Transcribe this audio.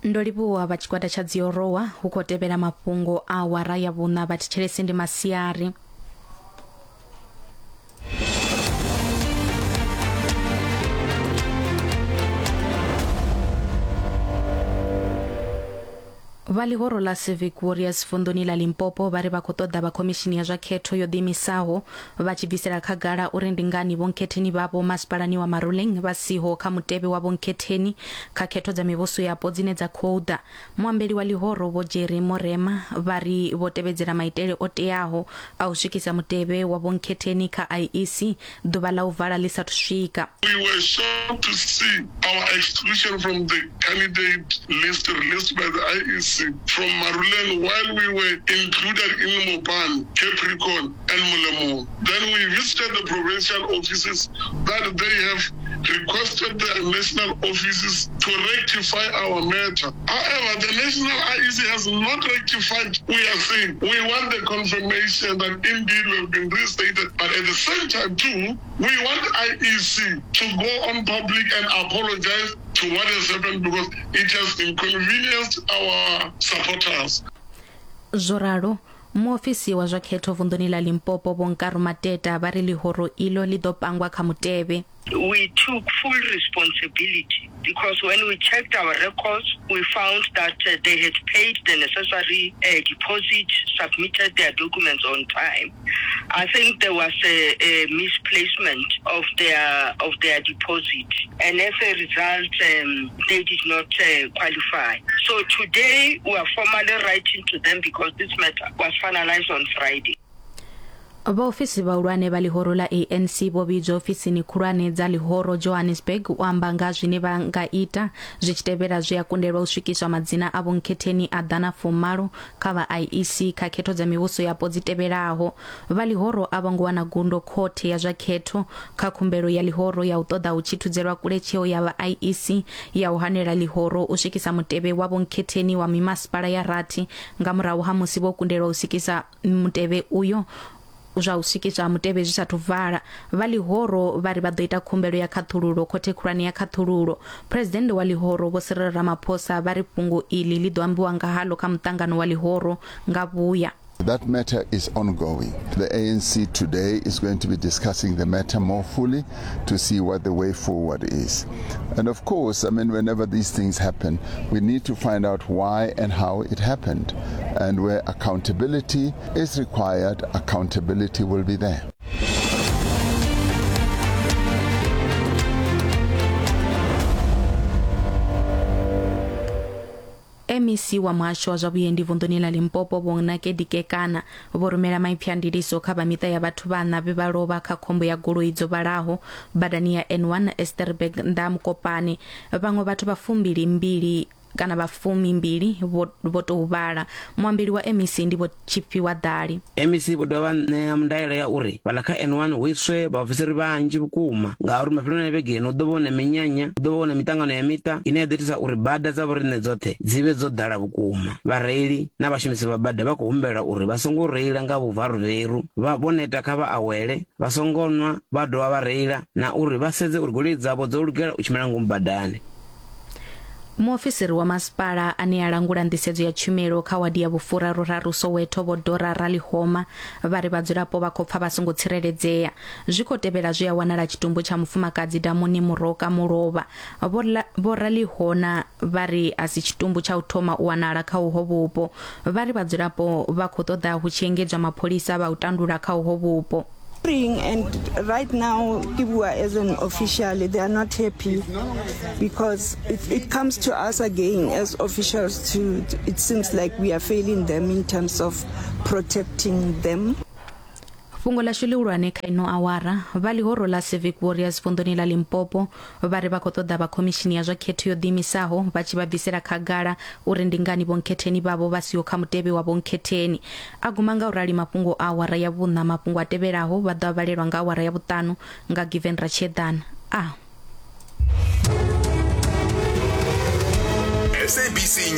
Ndo livhuwa vha tshigwada tsha Dziorowa hu khou tevhela mafhungo a awara ya vhuṋa vhathetshelesi ndi masiari. Vha ḽihoro ḽa Civic Warriors vunḓuni ḽa Limpopo vha ri vha khou ṱoḓa vha khomishini ya zwa khetho yo ḓiimisaho vha tshi bvisela khagala uri ndi ngani vhonkhetheni vhavho masipalani wa Maruleng vha siho kha mutevhe wa vhonkhetheni kha khetho dza mivhuso yapo dzine dza khou ḓa. Muambeli wa ḽihoro Vho Jerry Morema vha ri vho tevhedzela maitele o teaho a u swikisa mutevhe wa vhonkhetheni kha IEC ḓuvha ḽa u vala ḽi sathu swika. We were shocked to see our exclusion from the candidate list released by the IEC from Maruleng while we were included in Mopani, Capricorn and Molemong. Then we visited the provincial offices that they have requested the national offices to rectify our matter. However, the national IEC has not rectified. We are saying we want the confirmation that indeed we have been restated. But at the same time, too, we want IEC to go on public and apologize to what has happened because it has inconvenienced our supporters. Zwo ralo, muofisi wa zwa khetho vunḓuni ḽa Limpopo Vho Nkaru Mateta vha ri ḽihoro iḽo ḽi ḓo pangwa kha mutevhe. We took full responsibility because when we checked our records, we found that uh, they had paid the necessary uh, deposit, submitted their documents on time. I think there was a, a misplacement of their of their deposit, and as a result, um, they did not uh, qualify. So today we are formally writing to them because this matter was finalized on Friday. Vhaofisi vhahulwane vha ḽihoro ḽa ANC vho vhidzwa ofisini khulwane dza ḽihoro Johannesburg u amba nga zwine vha nga ita zwi tshi tevhela zwe a kundelwa u swikiswa madzina a vhonkhetheni a ḓana fumalo kha vha IEC kha khetho dza mivhuso yapo dzi tevhelaho. Vha ḽihoro a vho ngo wana gundo khothe ya zwa khetho kha khumbelo ya ḽihoro ya u ṱoḓa hu tshi thudzelwa kule tsheo ya vha IEC ya u hanela ḽihoro u swikisa mutevhe wa vhonkhetheni wa mimasipala ya rathi nga murahu ha musi vho kundelwa u swikisa mutevhe uyo zwa u swikiswa ha mutevhe zwi sathu vala. Vha ḽihoro vha ri vha ḓo ita khumbelo ya khaṱhululo khothe khulwane ya khaṱhululo. Phresidennde wa ḽihoro Vho Cyril Ramaphosa vha ri fhungo iḽi ḽi ḓo ambiwa nga haḽo kha muṱangano wa ḽihoro nga vhuya. That matter is ongoing. The ANC today is going to be discussing the matter more fully to see what the way forward is. And of course, I mean, whenever these things happen, we need to find out why and how it happened. And where accountability is required, accountability will be there. MEC wa muhasho wa zwa vhuendi vunḓuni ḽa Limpopo Vho Nakedi Kekana vho rumela maipfi a ndiliso kha vha miṱa ya vhathu vhaṋa vhe vha lovha kha khombo ya goloi dzo vhalaho badani ya N1 Esterberg nnḓa ha Mokopane. Vhaṅwe vhathu vha fumbili mbili kana vha fumimbili vho, vho tou vhala. Muambeli wa MEC ndi Vho Tshifhiwa Ḓali. MEC vho dovha vha ṋea ndaela ya uri fhaḽa kha N1 hu iswe vhaofisiri vhanzhi vhukuma ngauri mafheloni a vhege ino hu ḓo vha hu na minyanya, hu ḓo vha hu na miṱangano ya miṱa ine ya ḓo itisa uri bada dza vhoriṋe dzoṱhe dzi vhe dzo ḓala vhukuma. Vhareili na vhashumisi vha bada vha khou humbelwa uri vha songo reila nga vhuvaruveru, vha vho neta kha vha awele, vha songo nwa vha dovha vha reila na uri vha sedze uri goloi dzavho dzo lugela u tshimbila ngomu badani. Muofisiri wa masipala ane a langula nḓisedzo ya tshumelo kha wadi ya vhufuraruraru Soweto Vho Dora Ralihoma vha ri vhadzulapo vha khou pfa vha songo tsireledzea. Zwi khou tevhela zwe a wanala tshitumbu tsha mufumakadzi damuni Muroka mulovha. Vho Ralihona vha ri a si tshitumbu tsha u thoma u wanala kha uho vhupo. Vha ri vhadzulapo vha khou ṱoḓa hu tshi engedzwa mapholisa vha u tandula kha uho vhupo. And right now, Kibua as an official, they are not happy because it, it comes to us again as officials to, it seems like we are failing them in terms of protecting them. Fhungo ḽashu ḽihulwane kha ino awara, vha ḽihoro ḽa Civic Warriors vunḓuni ḽa Limpopo vha ri vha khou ṱoḓa vha khomishini ya zwa khetho yo ḓiimisaho vha tshi vha bvisela khagala uri ndi ngani vhonkhetheni vhavho vha siho kha mutevhe wa vhonkhetheni. A guma nga u rali mafhungo a awara ya vhuṋa, mafhungo a tevhelaho vha ḓo a vhalelwa nga awara ya vhuṱanu nga Given Ratshiedana. A. SABC